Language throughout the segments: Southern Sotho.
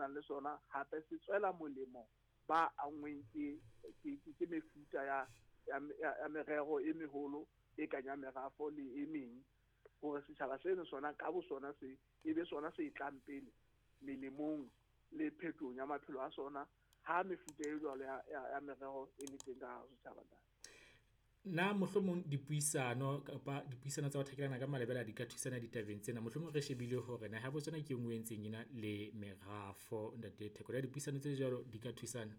nang le sona hape se tswela molemo ba anngweng ke mefuta ya merero e meholo e kang ya merafo le e meng, hore setjhaba seno sona ka bo sona se e be sona se tlang pele melemong le phetohong ya maphelo a sona ha mefuta e jwalo ya merero e le teng ka hara setjhaba. Na mohlomong dipuisano kapa dipuisano tsa ho thakelana ka malebela di ka thusana ditabeng tsena? Mohlomong re shebile hore naha ya Botswana ke e nngwe e ntseng ena le merafo, Ntate Theko. Na dipuisano tse jwalo di ka thusana?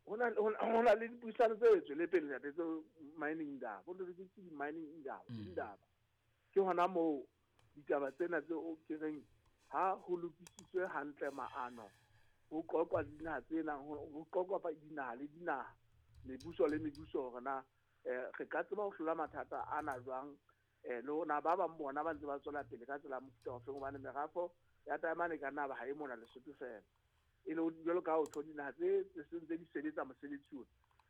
Ho na le dipuisano tse tswele pele, ntate, tse mining indaba, ho ke mining indaba. Indaba ke hona moo ditaba tsena tse ke reng ha ho lokisitswe hantle maano, ho qoqwa dinaha tsena, ho qoqwa dinaha le dinaha, mebuso le mebuso, hore na re ka tseba ho hlola mathata ana jwang, le hore ba bang bona ba ntse ba tswela pele ka tsela ya mofuta ofeng, hobane merafo ya taemane ka nna ba ha e mona Lesotho fela. E le jwalo ka ho tjho dinaha tse seng tse di sebetsa mosebetsi ona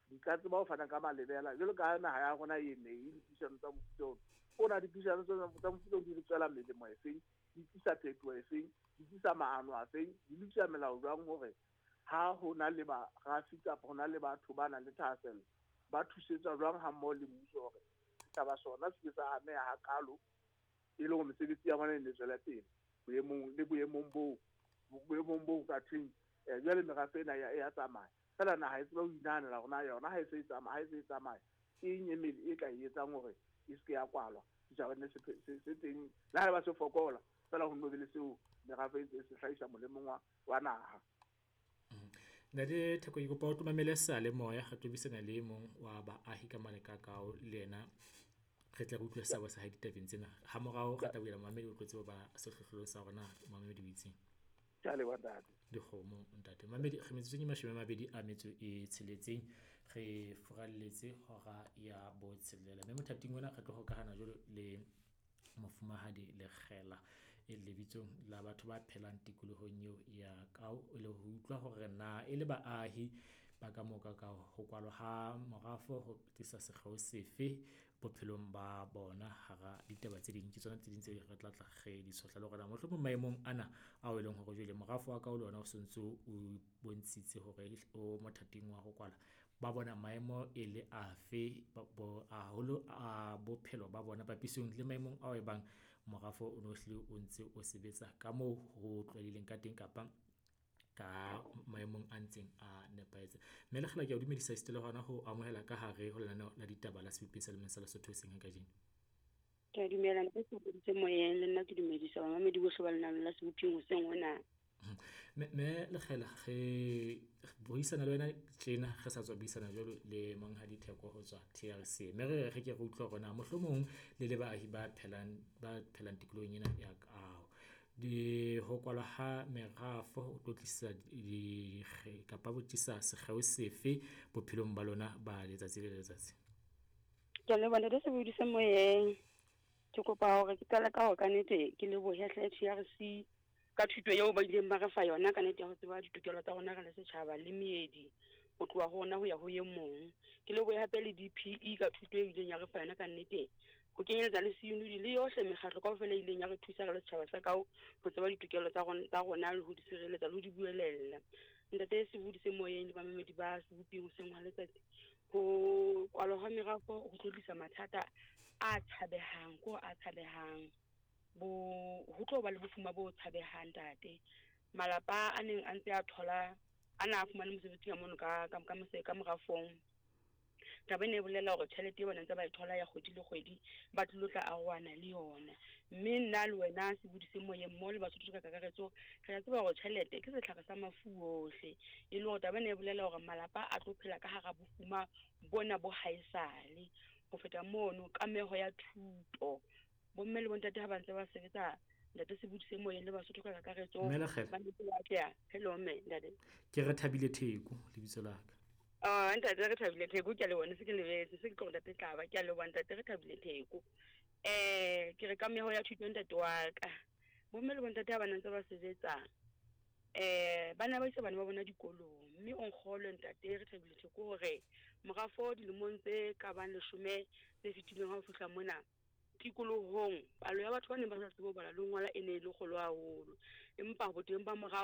di ka tseba ho fana ka malebela, jwalo ka naha ya rona e ne e dipuisano tsa mofuta ona. Ona dipuisano tsa mofuta ona di re tswela melemo efeng, di tlisa phetoho efeng, di tlisa maano afeng, di lokisa melao jwang hore ha ho na le barafi kapa ho na le batho ba nang le thahasello ba thusetswa jwang ha mmoho le mmuso hore setjhaba sona se ke sa ameha hakalo, e le hore mesebetsi ya bona e ne tswele pele boemong le boemong bo ka thweng jwale merafe ena ya tsamaya. Fela naha e tseba ho inahanela hore na yona ha e se e tsamaya, ha e se e tsamaya ke eng e mele e ka e etsang hore e se ke ya kwalwa, setjhaba ne se teng le ha eba se fokola fela ho nno be le seo merafe e se hlahisa molemong wa naha. Ntate Theko, ke kopa o tlo mamele seyalemoya, re tlo buisana le e mong wa baahi ka mane ka Kao, le yena re tle re utlwe seabo sa hae ditabeng tsena. Ha morao re tla bulela momamedi, o tlo tseba ba sehlohlolong sa hore na momamedi o itseng. Ke a leboha, ntate. Dikgomo, ntate. Mamedi, re metsotsong e 26 re furalletse hora ya 6, mme mothating ona re tlo hokahana jwalo le Mofumahadi Lekgela e lebitsong la batho ba phelang tikolohong eo ya Kao, e le ho utlwa hore na e le baahi ba ka moo ka Kao ho kwalwa ha morafo ho tlisa sekgeo sefe bophelong ba bona hara ditaba tse ding. Ke tsona tse ding tse re tla tla re di tshohla le hore na mohlomong maemong ana ao e leng hore jwale morafo wa Kao le ona o sontso o bontshitse hore o mothating wa ho kwala, ba bona maemo e le afe haholo a bophelo ba bona papisong le maemong ao e bang morafo o no hlile o ntse o sebetsa ka moo ho tlwaelehileng ka teng kapa ka maemong a ntseng a nepahetse. Mme Lekgela, ke a o dumedisa esita le hona ho amohela ka hare ho lenaneo la ditaba la Sebopeng sa Lemong sa Lesotho hoseng ha kajeno. Ke a dumela, ntate Seboditse moyeng, le nna ke dumedisa bamamedi bohle ba lenaneo la Sebopeng hoseng hona. Mme Lekgela, re buisana le wena tjena, re sa tswa buisana jwalo le Monghadi Theko ho tswa TRC, mme re re ke re utlwe hore na mohlomong le le baahi ba phelang tikolohong ena ya Kao, di ho kwalwa ha merafo ho tlo tlisa kapa ho tlisa sekgeo sefe bophelong ba lona ba letsatsi le letsatsi? Ke a leboha, ntate Sebodise moyeng. Ke kopa hore ke qale ka hore kannete ke lebohe hle TRC ka thuto eo ba ileng ba re fa yona ka nnete ya ho tseba ditokelo tsa rona re le setjhaba le meedi ho tloha ho rona ho ya ho e mong. Ke lebohe hape le DPE ka thuto e ileng ya re fa yona ka nnete, ho kenyeletsa le CNUD le yohle mekgatlo kaofela e ileng ya re thusa re le setjhaba sa Kao ho tseba ditokelo tsa rona le ho di sireletsa le ho di buelella. Ntate Sebodise moyeng le bamamedi ba Sebopeng hoseng hwa letsatsi, ho kwalwa ha merafo ho tlo tlisa mathata a tshabehang, ko a tshabehang. Ho tlo ba le bofuma bo tshabehang, ntate. Malapa a neng a ntse a thola, a na a fumane mosebetsi ka mono ka morafong. Taba ena e bolela hore tjhelete eo ba ntse ba e thola ya kgwedi le kgwedi ba tlilo tla arohana le yona. Mme nna le wena Sebodise moyeng mmoho le Basotho ka kakaretso, re a tseba hore tjhelete ke setlhare sa mafu ohle. E le hore taba ena e bolela hore malapa a tlo phela ka hara bofuma bona bo haesale. Ho feta mono, kameho ya thuto, bomme le bontate ha ba ntse ba sebetsa, ntate Sebodise moyeng le Basotho ka kakaretso, Mme Lekgela. ba ntse ba atleha. Hello mme, ntate. Ke re Thabile Theko lebitso la ka. Ntate re Thabile Theko, ke a leboha, ne se ke lebetse, se ke tlo ntate Tlaba, ke a leboha ntate re Thabile Theko. Ke re kameho ya thuto ntate wa ka. Bomme le bontate ha ba ntse ba sebetsa, ba ne ba isa bana ba bona dikolong, mme o nkgolwe ntate re Thabile Theko hore morafo dilemong tse ka bang 10 tse fetileng ha o fihla mona tikolohong, palo ya batho ba neng ba sa tsebe ho bala le ho ngola e ne e le kgolo haholo, empa boteng ba morafo